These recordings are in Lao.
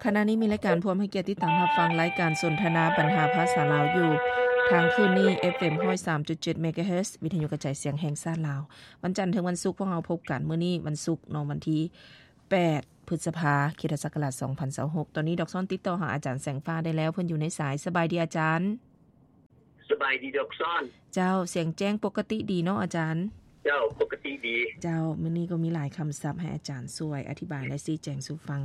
ຂະນະນີ້ມີລາຍການ ພວມໃຫ້ກຽດຕິດຕາມຮັບຟັງລາຍການສົນທະນາບັນຫາພາສາລາວຢູ່ ທາງຄື້ນນີ້ ເອັຟເອັມ ຮ້ອຍສາມຈຸດເຈັດ ເມກາເຮີດ ວິທະຍຸກະຈາຍສຽງແຫ່ງຊາດລາວ. ວັນຈັນເຖິງວັນສຸກພວກເຮົາພົບກັນ. ມື້ນີ້ວັນສຸກເນາະ ວັນທີແປດ ພຶດສະພາ ຄຣິສຕະສັກກະລາດສອງພັນຊາວຫົກ. ຕອນນີ້ດອກຊອນຕິດຕໍ່ຫາອາຈານແສງຟ້າໄດ້ແລ້ວ ເພິ່ນຢູ່ໃນສາຍ. ສະບາຍດີອາຈານ. ສະບາຍດີດອກຊອນ. ເຈົ້າ, ສຽງແຈ້ງປົກກະຕິດີເນາະອາຈານ? ເຈົ້າ, ປົກກະຕິດີ. ເຈົ້າ, ມື້ນີ້ກໍມີຫຼາຍຄຳສັບໃຫ້ອາຈານຊ່ວຍອະທິບາຍ ແລະ ຊີ້ແຈງສູ່ຟັງ.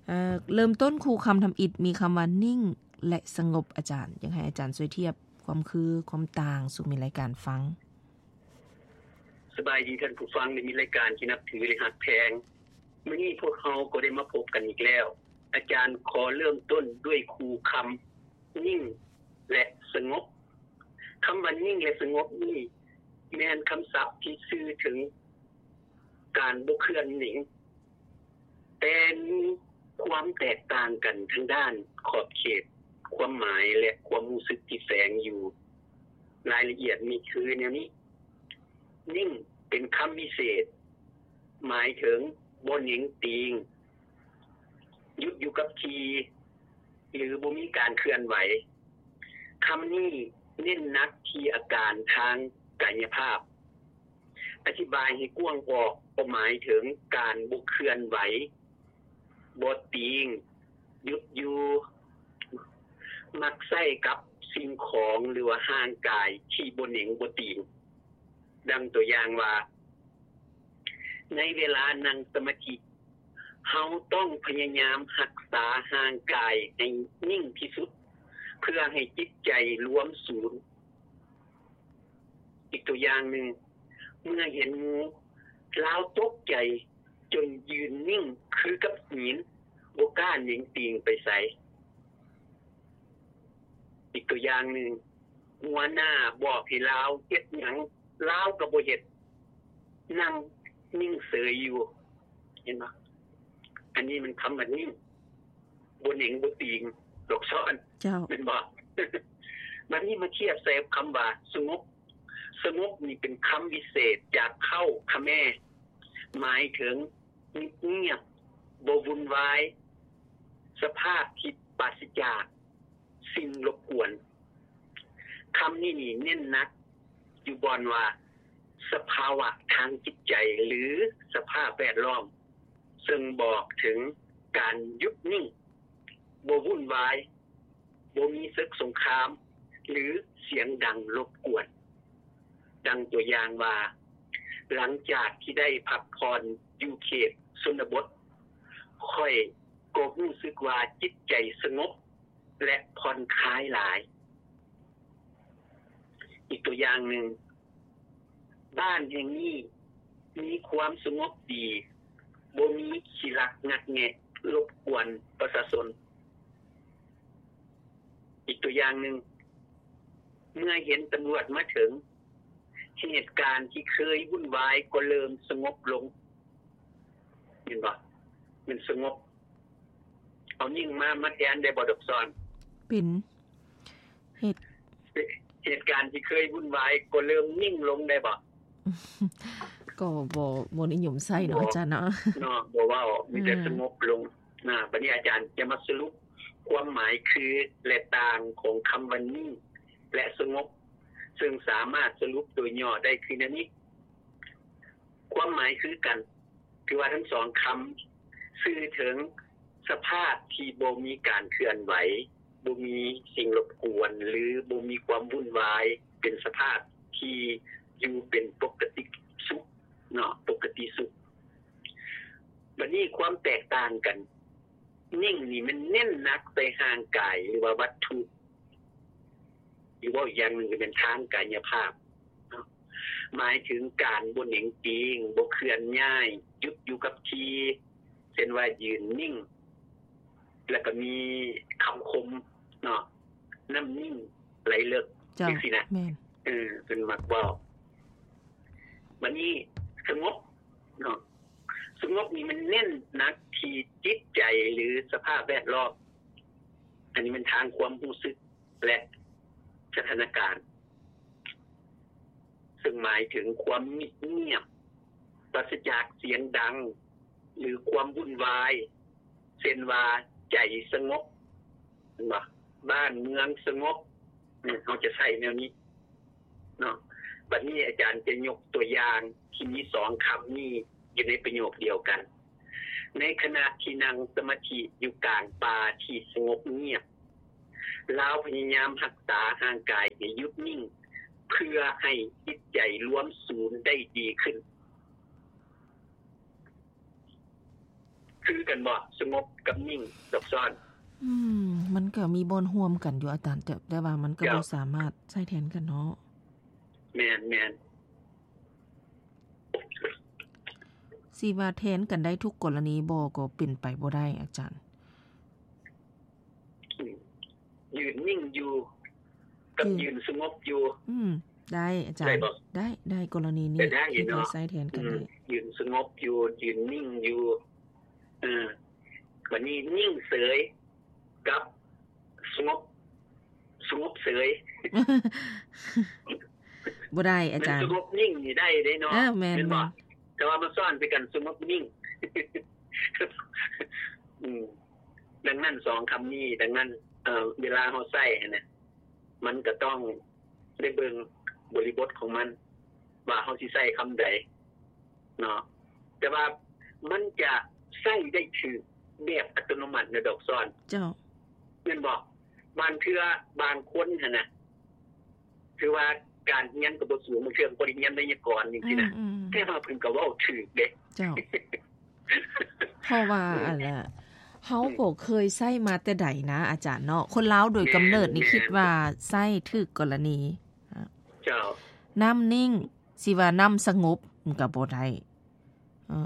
ເອີ ເລີ່ມຕົ້ນຄູ່ຄຳທຳອິດ ມີຄຳວ່າ ນິ່ງ ແລະ ສະຫງົບ. ອາຈານ ຢາກໃຫ້ອາຈານຊ່ວຍທຽບຄວາມຄື ຄວາມຕ່າງສູ່ແຟນລາຍການຟັງ. ສະບາຍດີທ່ານຜູ້ຟັງ ແລະ ມິດລາຍການທີ່ນັບຖື ແລະ ຮັກແພງ. ມື້ນີ້ພວກເຮົາກໍໄດ້ມາພົບກັນອີກແລ້ວ. ອາຈານຂໍເລີ່ມຕົ້ນດ້ວຍຄູ່ຄຳ ນິ່ງ ແລະ ສະຫງົບ. ຄຳວ່ານິ່ງ ແລະ ສະຫງົບນີ້ ແມ່ນຄຳສັບທີ່ສື່ເຖິງການບໍ່ເຄື່ອນເໜັງ, ແຕ່ມີຄວາມແຕກຕ່າງກັນທາງດ້ານຂອບເຂດ, ຄວາມໝາຍ ແລະ ຄວາມຮູ້ສຶກທີ່ແຝງຢູ່. ລາຍລະອຽດມີຄືແນວນີ້. ນິ່ງ ເປັນຄຳວິເສດ ໝາຍເຖິງບໍ່ເໜັງຕີງ, ຢຸດຢູ່ກັບທີ່ ຫຼື ບໍ່ມີການເຄື່ອນໄຫວ. ຄຳນີ້ເນັ້ນໜັກທີ່ອາການທາງກາຍະພາບ. ອະທິບາຍໃຫ້ກວ້າງອອກ ກໍໝາຍເຖິງການບໍ່ເຄື່ອນໄຫວ, ບໍ່ຕີງ, ຢຸດຢູ່, ມັກໃຊ້ກັບສິ່ງຂອງ ຫຼືວ່າຮ່າງກາຍທີ່ບໍ່ເໜັງບໍ່ຕີງ. ດັ່ງຕົວຢ່າງວ່າ, ໃນເວລານັ່ງສະມາທິ, ເຮົາຕ້ອງພະຍາຍາມຮັກສາຮ່າງກາຍໃຫ້ນິ່ງທີ່ສຸດ ເພື່ອໃຫ້ຈິດໃຈລວມສູນ. ອີກຕົວຢ່າງໜຶ່ງ, ເມື່ອເຫັນງູ, ລາວຕົກໃຈຈົນຢືນນິ່ງຄືກັບຫີນ, ບໍ່ກ້າເໜັງຕີງໄປໃສ. ອີກຕົວຢ່າງໜຶ່ງ, ຫົວໜ້າບອກໃຫ້ລາວເຮັດຫຍັງ, ລາວກໍບໍ່ເຮັດ, ນັ່ງນິ່ງເສີຍຢູ່. ເຫັນບໍ່? ອັນນີ້ມັນຄຳວ່ານິ່ງ, ບໍ່ເໜັງບໍ່ຕີງດອກຊອນ. ເຈົ້າ. ແມ່ນບໍ່? ບັດນີ້ມາທຽບໃສ່ຄຳວ່າສະຫງົບ. ສະຫງົບນີ້ເປັນຄຳວິເສດຈາກເຜົ່າຂະແມ, ໝາຍເຖິງ ງຽບໆ, ບໍ່ວຸ່ນວາຍ, ສະພາບທີ່ປາສະຈາກສິ່ງລົບກວນ. ຄຳນີ້ນີ້ເນັ້ນໜັກຢູ່ບ່ອນວ່າ ສະພາວະທາງຈິດໃຈ ຫຼື ສະພາບແວດລ້ອມ, ເຊິ່ງບອກເຖິງການຢຸດນິ່ງ, ບໍ່ວຸ່ນວາຍ, ບໍ່ມີເສິກສົງຄາມ ຫຼື ສຽງດັງລົບກວນ. ດັ່ງຕົວຢ່າງວ່າ, ຫຼັງຈາກທີ່ໄດ້ພັກຜ່ອນຢູ່ເຂດຊົນນະບົດ, ຂ້ອຍກໍຮູ້ສຶກວ່າຈິດໃຈສະຫງົບ ແລະ ຜ່ອນຄາຍຫຼາຍ. ອີກຕົວຢ່າງໜຶ່ງ, ບ້ານແຫ່ງນີ້ມີຄວາມສະຫງົບດີ, ບໍ່ມີຂີ້ລັກງັດແງະລົບກວນປະຊາຊົນ. ອີກຕົວຢ່າງໜຶ່ງ, ເມື່ອເຫັນຕຳຫຼວດມາເຖິງ, ເຫດການທີ່ເຄີຍວຸ່ນວາຍກໍເລີ່ມສະຫງົບລົງ. ເຫັນບໍ່? ມັນສະຫງົບ. ເອົານິ່ງມາ ມາແທນໄດ້ບໍ່ດອກຊອນ? ເປັນ ເຫດ ເຫດການທີ່ເຄີຍວຸ່ນວາຍກໍເລີ່ມນິ່ງລົງໄດ້ບໍ່? ກໍບໍ່ ບໍ່ນິຍົມໃຊ້ເນາະ ບໍ່ ອາຈານເນາະ ເນາະ ບໍ່ເວົ້າ ມີແຕ່ ອືມ ສະຫງົບລົງນະ. ບັດນີ້ອາຈານຈະມາສະຫຼຸບຄວາມໝາຍຄື ແລະ ຕ່າງຂອງຄຳວ່ານິ່ງ ແລະ ສະຫງົບ ເຊິ່ງສາມາດສະຫຼຸບໂດຍຫຍໍ້ໄດ້ຄືແນວນີ້. ຄວາມໝາຍຄືກັນ ຖືວ່າທັງສອງຄຳສື່ເຖິງສະພາບທີ່ບໍ່ມີການເຄື່ອນໄຫວ, ບໍ່ມີສິ່ງລົບກວນ ຫຼື ບໍ່ມີຄວາມວຸ່ນວາຍ, ເປັນສະພາບທີ່ຢູ່ເປັນປົກກະຕິສຸກເນາະ, ປົກກະຕິສຸກ. ບັດນີ້ຄວາມແຕກຕ່າງກັນ, ນິ່ງນີ້ມັນເນັ້ນໜັກໃສ່ຮ່າງກາຍ ຫຼືວ່າວັດຖຸ ຫຼືເວົ້າອີກຢ່າງໜຶ່ງກໍແມ່ນທາງກາຍະພາບເນາະ, ໝາຍເຖິງການບໍ່ເໜັງຕີງ, ບໍ່ເຄື່ອນຍ້າຍ, ຢຸດຢູ່ກັບທີ່, ເຊັ່ນວ່າຢືນນິ່ງ, ແລ້ວກໍມີຄຳຄົມເນາະ, ນ້ຳນິ່ງໄຫຼເລິກ ເຈົ້າ ຈັ່ງຊີ້ນະ. ແມ່ນ. ເອີ ເພິ່ນມັກເວົ້າ. ບັດນີ້ສະຫງົບເນາະ, ສະຫງົບນີ້ມັນເນັ້ນໜັກທີ່ຈິດໃຈ ຫຼື ສະພາບແວດລ້ອມ. ອັນນີ້ແມ່ນທາງຄວາມຮູ້ສຶກ ແລະ ສະຖານະການ, ເຊິ່ງໝາຍເຖິງຄວາມມິດງຽບ, ປາສະຈາກສຽງດັງ ຫຼື ຄວາມວຸ່ນວາຍ, ເຊັ່ນວ່າ ໃຈສະຫງົບ ເຫັນບໍ່? ບ້ານເມືອງສະຫງົບ ເຮົາຈະໃຊ້ແນວນີ້ເນາະ. ບັດນີ້ອາຈານຈະຍົກຕົວຢ່າງທີ່ມີສອງຄຳນີ້ຢູ່ໃນປະໂຫຍກດຽວກັນ. ໃນຂະນະທີ່ນັ່ງສະມາທິຢູ່ກາງປ່າທີ່ສະຫງົບງຽບ, ລາວພະຍາຍາມຮັກສາຮ່າງກາຍໃຫ້ຢຸດນິ່ງ ເພື່ອໃຫ້ຈິດໃຈລວມສູນໄດ້ດີຂຶ້ນ. ຄືກັນບໍ່ ສະຫງົບກັບນິ່ງ ດອກຊອນ? ອືມ ມັນກໍມີບ່ອນຮ່ວມກັນຢູ່ອາຈານ, ແຕ່ ແຕ່ວ່າມັນກໍ ເຈົ້າ ບໍ່ສາມາດໃຊ້ແທນກັນເນາະ. ແມ່ນໆ. ຊິວ່າແທນກັນໄດ້ທຸກກໍລະນີບໍ່ ກໍເປັນໄປບໍ່ໄດ້ອາຈານ. ອືມ ຢືນນິ່ງຢູ່ກັບ ຢືນ ຢືນສະຫງົບຢູ່. ອືມ ໄດ້ອາຈານ. ໄດ້ບໍ່? ໄດ້ ໄດ້ ກໍລະນີນີ້ ກໍໄດ້ເນາະ ຄິດວ່າໃຊ້ແທນກັນໄດ້. ອືມ ຢືນສະຫງົບຢູ່ ຢືນນິ່ງຢູ່. ເອີ ບັດນີ້ນິ່ງເສີຍ ກັບສະຫງົບ ສະຫງົບເສີຍ ບໍ່ໄດ້ອາຈານ. ສະຫງົບນິ່ງນີ້ໄດ້ເດ້ເນາະ. ເອີ ແມ່ນ ແມ່ນບໍ່? ແມ່ນ. ແຕ່ວ່າມາຊ້ອນໃສ່ກັນ ສະຫງົບນິ່ງ. ອືມ ດັ່ງນັ້ນສອງຄຳນີ້ ດັ່ງນັ້ນ ເອີ ເວລາເຮົາໃຊ້ຫັ້ນນະ ມັນກໍຕ້ອງໄດ້ເບິ່ງບໍລິບົດຂອງມັນ ວ່າເຮົາຊິໃຊ້ຄຳໃດເນາະ. ແຕ່ວ່າມັນຈະໃຊ້ໄດ້ຖືກແບບອັດຕະໂນມັດນະ ດອກຊອນ. ເຈົ້າ. ແມ່ນບໍ່? ບາງເທື່ອບາງຄົນຫັ້ນນະ ຖືວ່າການຮຽນກໍບໍ່ສູງ, ບາງເທື່ອກໍບໍ່ໄດ້ຮຽນໄວຍາກອນຈັ່ງຊີ້ນະ, ອືມໆ ແຕ່ວ່າເພິ່ນກໍເວົ້າຖືກເດ້. ເຈົ້າ. ເພາະວ່າ ອືມ ອັນລະ ເຮົາ ອືມ ກໍເຄີຍໃຊ້ມາແຕ່ໃດນະອາຈານເນາະ. ຄົນລາວໂດຍກຳເນີດນີ້ ແມ່ນໆ ຄິດວ່າໃຊ້ຖືກກໍລະນີ. ເຈົ້າ. ນ້ຳນິ່ງ ຊິວ່ານ້ຳສະຫງົບ ມັນກໍບໍ່ໄດ້. ເອີ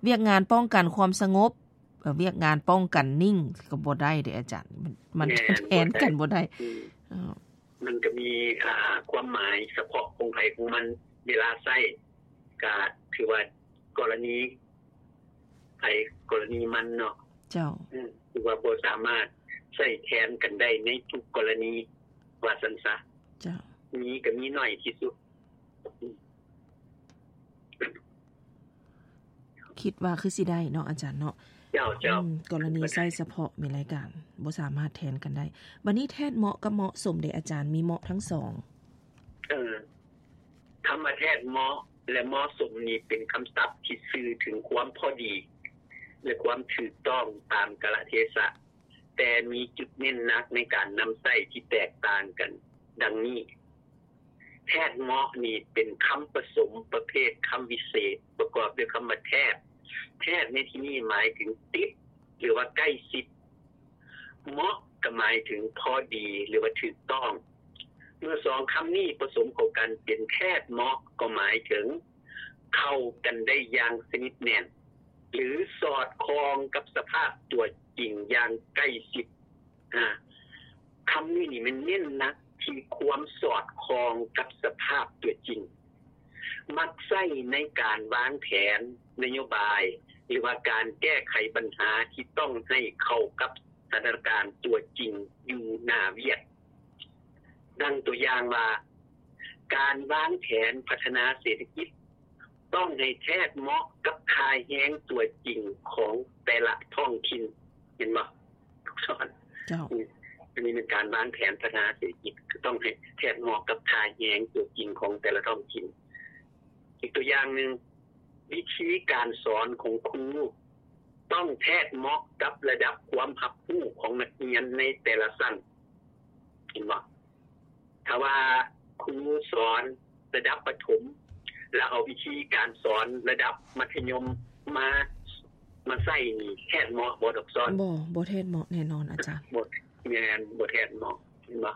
ວຽກງານປ້ອງກັນຄວາມສະຫງົບ ເອີ ວຽກງານປ້ອງກັນນິ່ງ ກໍບໍ່ໄດ້ເດ້ອາຈານ. ມັນ ມັນ ແມ່ນ ແທນກັນບໍ່ໄດ້. ອືມ ເອີ ມັນກໍມີ ອ່າ ຄວາມໝາຍສະເພາະຂອງໃຜຂອງມັນ, ເວລາໃຊ້ກໍຖືວ່າກໍລະນີໃຜກໍລະນີມັນເນາະ. ເຈົ້າ. ອືມ ຖືວ່າບໍ່ສາມາດໃຊ້ແທນກັນໄດ້ໃນທຸກກໍລະນີ ວ່າຊັ້ນຊະ. ເຈົ້າ. ມີກໍມີໜ້ອຍທີ່ສຸດ. ອືມ ຄິດວ່າຄືຊິໄດ້ເນາະອາຈານເນາະ. ເຈົ້າ ເຈົ້າ. ອືມ ກໍລະນີໃຊ້ສະເພາະແມ່ນລາຍການ ບໍ່ສາມາດແທນກັນໄດ້. ບັດນີ້ແທດເໝາະກັບເໝາະສົມເດອາຈານ, ມີເໝາະທັງສອງ? ເອີ ຄຳວ່າແທດເໝາະ ແລະ ເໝາະສົມນີ້ເປັນຄຳສັບທີ່ສື່ເຖິງຄວາມພໍດີ ແລະ ຄວາມຖືກຕ້ອງຕາມກາລະເທສະ, ແຕ່ມີຈຸດເນັ້ນໜັກໃນການນຳໃຊ້ທີ່ແຕກຕ່າງກັນ ດັ່ງນີ້. ແທດເໝາະນີ້ເປັນຄຳປະສົມປະເພດຄຳວິເສດ ປະກອບດ້ວຍຄຳວ່າແທດ. ແທດໃນທີ່ນີ້ໝາຍເຖິງຕິດ ຫຼືວ່າໃກ້ຊິດ. ເໝາະກໍໝາຍເຖິງພໍດີ ຫຼືວ່າຖືກຕ້ອງ. ເມື່ອສອງຄຳນີ້ປະສົມເຂົ້າກັນເປັນແທດເໝາະ ກໍໝາຍເຖິງເຂົ້າກັນໄດ້ຢ່າງສະໜິດແໜ້ນ ຫຼື ສອດຄ່ອງກັບສະພາບຕົວຈິງຢ່າງໃກ້ຊິດ. ອາ ຄຳນີ້ນີ້ແມ່ນເນັ້ນໜັກທີ່ຄວາມສອດຄ່ອງກັບສະພາບຕົວຈິງ, ມັກໃຊ້ໃນການວາງແຜນນະໂຍບາຍ ຫຼືວ່າການແກ້ໄຂບັນຫາທີ່ຕ້ອງໃຫ້ເຂົ້າກັບສະຖານະການຕົວຈິງຢູ່ໜ້າວຽກ. ດັ່ງຕົວຢ່າງວ່າ ການວາງແຜນພັດທະນາເສດຖະກິດ ຕ້ອງໃຫ້ແທດເໝາະກັບຄ່າແຮງຕົວຈິງຂອງແຕ່ລະທ້ອງຖິ່ນ. ເຫັນບໍ່? ເຈົ້າ. ອັນນີ້ແມ່ນການວາງແຜນພັດທະນາເສດຖະກິດ ກໍຕ້ອງໃຫ້ແທດເໝາະກັບຄ່າແຮງຕົວຈິງຂອງແຕ່ລະທ້ອງຖິ່ນ. ອີກຕົວຢ່າງໜຶ່ງ, ວິທີການສອນຂອງຄູຕ້ອງແທດເໝາະກັບລະດັບຄວາມຮັບຮູ້ຂອງນັກຮຽນໃນແຕ່ລະຊັ້ນ. ເຫັນບໍ່? ຖ້າວ່າຄູສອນລະດັບປະຖົມ ແລ້ວເອົາວິທີການສອນລະດັບມັດທະຍົມມາ ມາໃຊ້ນີ້ ແທດເໝາະບໍ່ ດອກຊອນ? ບໍ່ ບໍ່ແທດເໝາະແນ່ນອນອາຈານ. ບໍ່ ແມ່ນ ບໍ່ແທດເໝາະ ເຫັນບໍ່?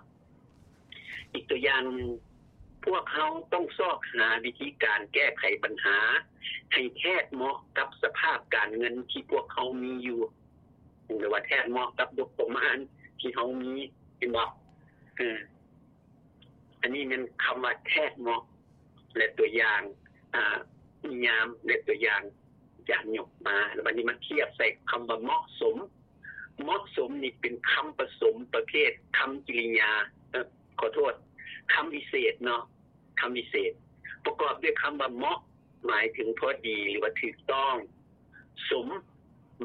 ອີກຕົວຢ່າງໜຶ່ງ, ພວກເຮົາຕ້ອງຊອກຫາວິທີການແກ້ໄຂບັນຫາໃຫ້ແທດເໝາະກັບສະພາບການເງິນທີ່ພວກເຮົາມີຢູ່ ຫຼືວ່າແທດເໝາະກັບງົບປະມານທີ່ເຮົາມີ ເຫັນບໍ່? ເອີ ອັນນີ້ແມ່ນຄຳວ່າແທດເໝາະ ແລະ ຕົວຢ່າງ ອາ ນິຍາມ ແລະ ຕົວຢ່າງທີ່ອາຈານຍົກມາ. ແລ້ວບັດນີ້ມາທຽບໃສ່ຄຳວ່າເໝາະສົມ. ເໝາະສົມນີ້ເປັນຄຳປະສົມປະເພດຄຳກິລິຍາ ເອີ ຂໍໂທດ ຄຳວິເສດເນາະ. ຄຳວິເສດປະກອບດ້ວຍຄຳວ່າເໝາະ ໝາຍເຖິງພໍດີ ຫຼືວ່າຖືກຕ້ອງ, ສົມ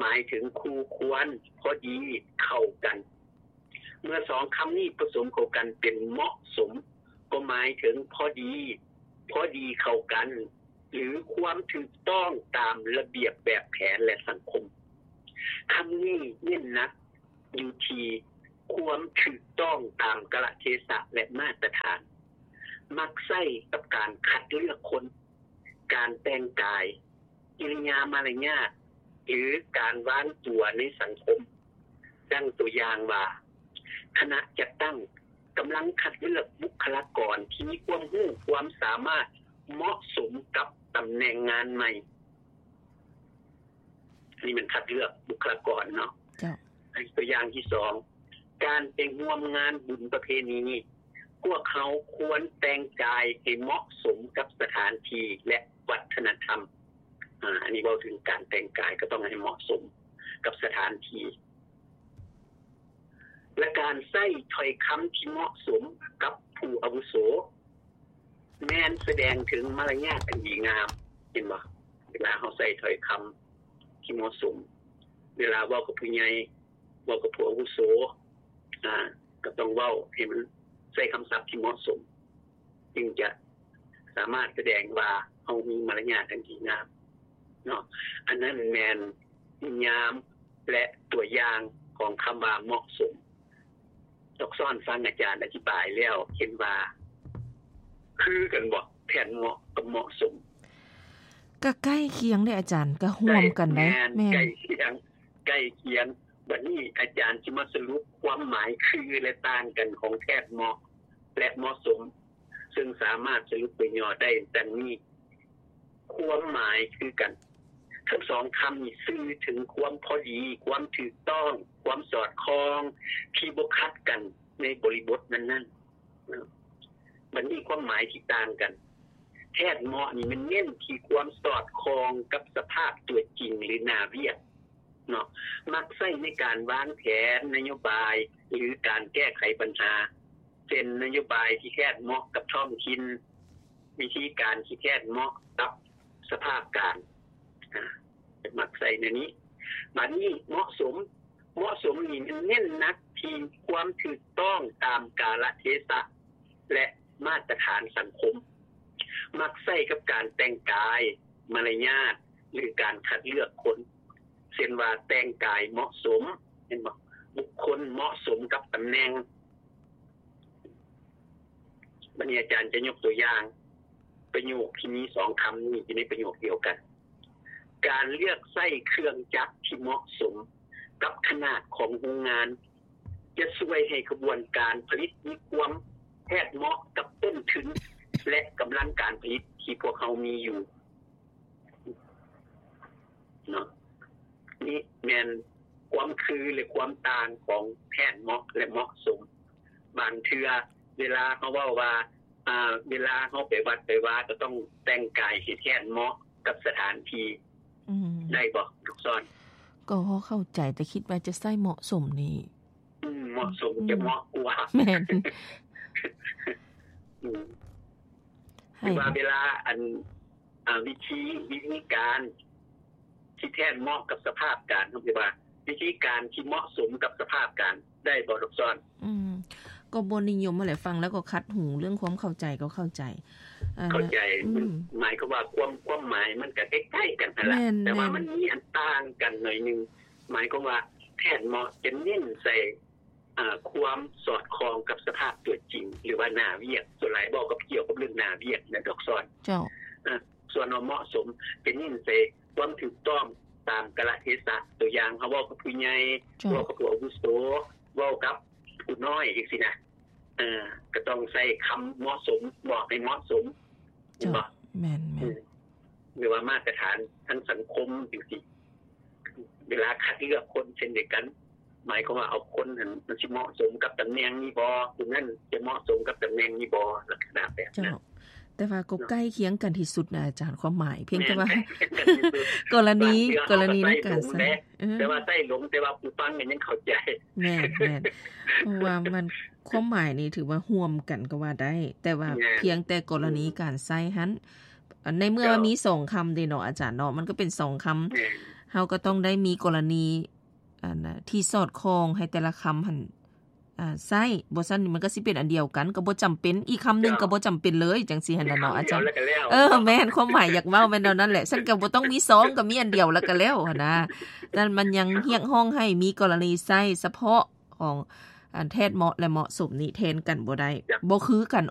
ໝາຍເຖິງຄູ່ຄວນ, ພໍດີ, ເຂົ້າກັນ. ເມື່ອສອງຄຳນີ້ປະສົມເຂົ້າກັນເປັນເໝາະສົມ, ກໍໝາຍເຖິງພໍດີ, ພໍດີເຂົ້າກັນ ຫຼື ຄວາມຖືກຕ້ອງຕາມລະບຽບແບບແຜນ ແລະ ສັງຄົມ. ຄຳນີ້ເນັ້ນໜັກຢູ່ທີ່ຄວາມຖືກຕ້ອງຕາມກາລະເທສະ ແລະ ມາດຕະຖານ, ມັກໃຊ້ກັບການຄັດເລືອກຄົນ, ການແຕ່ງກາຍ, ກິລິຍາມາລະຍາດ ຫຼື ການວາງຕົວໃນສັງຄົມ. ດັ່ງຕົວຢ່າງວ່າ, ຄະນະຈັດຕັ້ງກຳລັງຄັດເລືອກບຸກຄະລາກອນທີ່ມີຄວາມຮູ້ຄວາມສາມາດເໝາະສົມກັບຕຳແໜ່ງງານໃໝ່. ນີ້ແມ່ນຄັດເລືອກບຸກຄະລາກອນເນາະ. ເຈົ້າ. ຕົວຢ່າງທີສອງ, ການໄປຮ່ວມງານບຸນປະເພນີນີ້, ພວກເຮົາຄວນແຕ່ງກາຍໃຫ້ເໝາະສົມກັບສະຖານທີ່ ແລະ ວັດທະນະທຳ. ອາ ອັນນີ້ເວົ້າເຖິງການແຕ່ງກາຍ ກໍຕ້ອງໃຫ້ເໝາະສົມກັບສະຖານທີ່ ແລະ ການໃຊ້ຖ້ອຍຄຳທີ່ເໝາະສົມກັບຜູ້ອາວຸໂສ ແມ່ນສະແດງເຖິງມາລະຍາດອັນດີງາມ, ເຫັນບໍ່? ເວລາເຮົາໃຊ້ຖ້ອຍຄຳທີ່ເໝາະສົມ, ເວລາເວົ້າກັບຜູ້ໃຫຍ່, ເວົ້າກັບຜູ້ອາວຸໂສ, ອາ ກໍຕ້ອງເວົ້າໃຫ້ມັນໃຊ້ຄຳສັບທີ່ເໝາະສົມ, ຈຶ່ງຈະສາມາດສະແດງວ່າເຮົາມີມາລະຍາດອັນດີງາມເນາະ. ອັນນັ້ນແມ່ນນິຍາມ ແລະ ຕົວຢ່າງຂອງຄຳວ່າເໝາະສົມ. ດອກຊອນຟັງອາຈານອະທິບາຍແລ້ວ ເຫັນວ່າຄືກັນບໍ່? ແທດເໝາະກັບເໝາະສົມ ກໍໃກ້ຄຽງເດ້ອາຈານ, ກໍຮ່ວມກັນໄດ໋. ແມ່ນ, ແມ່ນ. ໃກ້ຄຽງ, ໃກ້ຄຽງ. ບັດນີ້ອາຈານຊິມາສະຫຼຸບຄວາມໝາຍຄື ແລະ ຕ່າງກັນຂອງແທດເໝາະ ແລະ ເໝາະສົມ, ເຊິ່ງສາມາດສະຫຼຸບໂດຍຫຍໍ້ໄດ້ດັ່ງນີ້. ຄວາມໝາຍຄືກັນ. ທັງສອງຄຳນີ້ສື່ເຖິງຄວາມພໍດີ, ຄວາມຖືກຕ້ອງ, ຄວາມສອດຄ່ອງ ທີ່ບໍ່ຂັດກັນໃນບໍລິບົດນັ້ນໆ. ບັດນີ້ຄວາມໝາຍທີ່ຕ່າງກັນ. ແທດເໝາະນີ້ມັນເນັ້ນທີ່ຄວາມສອດຄ່ອງກັບສະພາບຕົວຈິງ ຫຼື ໜ້າວຽກເນາະ, ມັກໃຊ້ໃນການວາງແຜນນະໂຍບາຍ ຫຼື ການແກ້ໄຂບັນຫາ, ເຊັ່ນ ນະໂຍບາຍທີ່ແທດເໝາະກັບທ້ອງຖິ່ນ, ວິທີການທີ່ແທດເໝາະກັບສະພາບການ, ອາ ມັກໃຊ້ແນວນີ້. ບາດນີ້ເໝາະສົມ, ເໝາະສົມນີ້ມັນເນັ້ນໜັກທີ່ຄວາມຖືກຕ້ອງຕາມກາລະເທສະ ແລະ ມາດຕະຖານສັງຄົມ, ມັກໃຊ້ກັບການແຕ່ງກາຍ, ມາລະຍາດ ຫຼື ການຄັດເລືອກຄົນ, ເຊັ່ນວ່າແຕ່ງກາຍເໝາະສົມ, ເຫັນບໍ່? ບຸກຄົນເໝາະສົມກັບຕຳແໜ່ງ. ບັດນີ້ອາຈານຈະຍົກຕົວຢ່າງປະໂຫຍກທີ່ມີສອງຄຳນີ້ຢູ່ໃນປະໂຫຍກດຽວກັນ. ການເລືອກໃຊ້ເຄື່ອງຈັກທີ່ເໝາະສົມກັບຂະໜາດຂອງໂຮງງານ ຈະຊ່ວຍໃຫ້ຂະບວນການຜະລິດມີຄວາມແທດເໝາະກັບຕົ້ນທຶນ ແລະ ກຳລັງການຜະລິດທີ່ພວກເຮົາມີຢູ່. ເນາະ ນີ້ແມ່ນຄວາມຄື ແລະ ຄວາມຕ່າງຂອງແທດເໝາະ ແລະ ເໝາະສົມ. ບາງເທື່ອເວລາເຮົາເວົ້າວ່າ ອ່າ ເວລາເຮົາໄປວັດໄປວາ ກໍຕ້ອງແຕ່ງກາຍໃຫ້ແທດເໝາະກັບສະຖານທີ່. ອືມ ໄດ້ບໍ່ ລູກສອນ? ກໍພໍເຂົ້າໃຈ, ແຕ່ຄິດວ່າຈະໃຊ້ເໝາະສົມນີ້ ອືມ ເໝາະສົມ ອືມ ຈະເໝາະກວ່າ. ແມ່ນ ອືມ ໃຫ້ ຫຼືວ່າເວລາ ອັນ ອ່າ ວິທີ ວິທີການທີ່ແທດເໝາະກັບສະພາບການ, ເຮົາເອີ້ນວ່າວິທີການທີ່ເໝາະສົມກັບສະພາບການ ໄດ້ບໍ່ ລູກສອນ? ອືມ ກໍບໍ່ນິຍົມຫັ້ນແຫຼະ, ຟັງແລ້ວກໍຂັດຫູ, ເລື່ອງຄວາມເຂົ້າໃຈກໍເຂົ້າໃຈ ອ່າ ເຂົ້າໃຈ. ອືມ ມັນໝາຍຄວາມວ່າຄວາມ ຄວາມໝາຍມັນກໍໃກ້ໆກັນຫັ້ນລະ, ແມ່ນ ແຕ່ວ່າ ແມ່ນ ມັນມີອັນຕ່າງກັນໜ້ອຍໜຶ່ງ. ໝາຍຄວາມວ່າແທດເໝາະຈະເນັ້ນໃສ່ ອ່າ ຄວາມສອດຄ່ອງກັບສະພາບຕົວຈິງ ຫຼືວ່າໜ້າວຽກ, ສ່ວນຫຼາຍເວົ້າກັບ ກ່ຽວກັບເລື່ອງໜ້າວຽກນະ ດອກຊອນ. ເຈົ້າ. ເອີ ສ່ວນວ່າເໝາະສົມ ຈະເນັ້ນໃສ່ຄວາມຖືກຕ້ອງຕາມກາລະເທສະ, ຕົວຢ່າງ ເຮົາເວົ້າກັບຜູ້ໃຫຍ່, ເຈົ້າ ເວົ້າກັບຜູ້ອາວຸໂສ, ເວົ້າກັບຜູ້ນ້ອຍ ຈັ່ງຊີ້ນະ. ເອີ ກໍຕ້ອງໃຊ້ຄຳເໝາະສົມ, ບອກໃຫ້ເໝາະສົມ. ເຈົ້າ. ແມ່ນໆ. ອືມ ຫຼືວ່າມາດຕະຖານທາງສັງຄົມຈັ່ງຊີ້. ເວລາຄັດເລືອກຄົນເຊັ່ນດຽວກັນ, ໝາຍຄວາມວ່າເອົາຄົນນັ້ນ ມັນຊິເໝາະສົມກັບຕຳແໜ່ງນີ້ບໍ່, ຜູ້ນັ້ນຈະເໝາະສົມກັບຕຳແໜ່ງນີ້ບໍ່, ລັກສະນະແບບນັ້ນ. ເຈົ້າ. ແຕ່ວ່າກໍໃກ້ຄຽງກັນທີ່ສຸດນະອາຈານ, ຄວາມໝາຍ, ພຽງແຕ່ວ່າ ແມ່ນ ໃກ້ຄຽງກັນທີ່ສຸດ. ກໍລະນີ ກໍລະນີໃນການໃຊ້ ເອີ ແຕ່ວ່າໃຊ້ຫຼົງ, ແຕ່ວ່າຜູ້ຟັງກໍຍັງເຂົ້າໃຈ. ແມ່ນໆ. ເພາະວ່າມັນ ຄວາມໝາຍນີ້ຖືວ່າຮ່ວມກັນກໍວ່າໄດ້, ແຕ່ວ່າ ແມ່ນ ພຽງແຕ່ກໍລະນີ ອືມ ການໃຊ້ຫັ້ນ ໃນເມື່ອ ເຈົ້າ ວ່າມີສອງຄຳເດ້ເນາະອາຈານເນາະ, ມັນກໍເປັນສອງຄຳ ແມ່ນ ເຮົາກໍຕ້ອງໄດ້ມີກໍລະນີອັນນະທີ່ສອດຄ່ອງໃຫ້ແຕ່ລະຄຳຫັ້ນ ອ່າ ໃຊ້ ບໍ່ຊັ້ນມັນກໍຊິເປັນອັນດຽວກັນ ກໍບໍ່ຈຳເປັນ ອີກຄຳໜຶ່ງກໍບໍ່ຈຳເປັນເລີຍ ຈັ່ງຊີ້ຫັ້ນນະເນາະ ອາຈານ. ເອີ ແມ່ນ ຄວາມໝາຍຢາກເວົ້າແມ່ນແນວນັ້ນແຫຼະ ຊັ້ນກໍບໍ່ຕ້ອງມີສອງ ກໍມີອັນດຽວແລ້ວກໍແລ້ວຫັ້ນນະ. ນັ້ນມັນຍັງຮຽກຮ້ອງໃຫ້ມີກໍລະນີໃຊ້ສະເພາະຂອງອັນແທດເໝາະ ແລະ ເໝາະສົມນີ້ແທນກັນບໍ່ໄດ້ ບໍ່ຄືກັນ.